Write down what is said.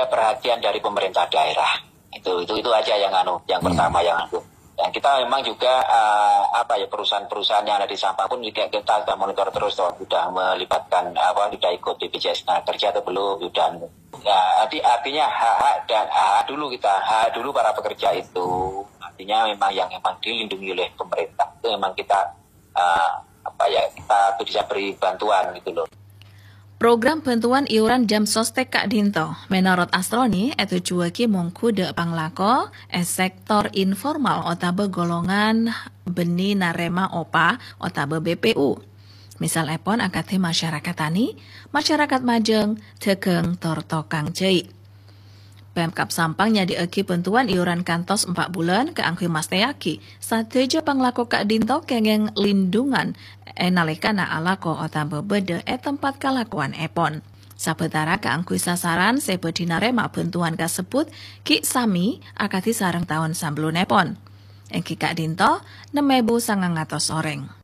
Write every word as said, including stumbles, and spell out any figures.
perhatian dari pemerintah daerah. Itu itu itu aja yang anu, yang pertama yang anu. Dan kita memang juga eh, apa ya, perusahaan-perusahaan yang ada di Sampang pun juga kita kita monitor terus, toh, sudah melibatkan apa, sudah ikut B P J S Tenaga Kerja atau belum, sudah. Ya, arti, artinya hak-hak dan hak dulu kita, hak dulu para pekerja itu. Artinya memang yang memang dilindungi oleh pemerintah itu memang kita eh, apa ya, kita bisa beri bantuan gitu loh. Program bantuan iuran Jamsostek ka'dhinto, menorot Astroni, ètojjhuwâghi mongghu dâ' panglako è sektor informal otabâ golongan bânnè narèma opa otabâ B P U. Misalèpon akadhi masyarakat tani, masyarakat majâng, dhâghâng, tor tokang jhâi'. Pemkab Sampang nyadhi'aghi bhântowan iuran kantos empa' bulân kaangghuy mastèyaghi sadhâjâ panglako ka'dhinto kèngèng lindhungan è nalèkana alako otabâ bâdâ è tempat kalakowanèpon. Sabâtara kaangghuy sasaran sè bhâdhi narèma bhântowan kasebbhut ghi' samè akadhi sareng taon sabellunèpon, èngghi ka'dhinto nem èbu sangang atos orèng.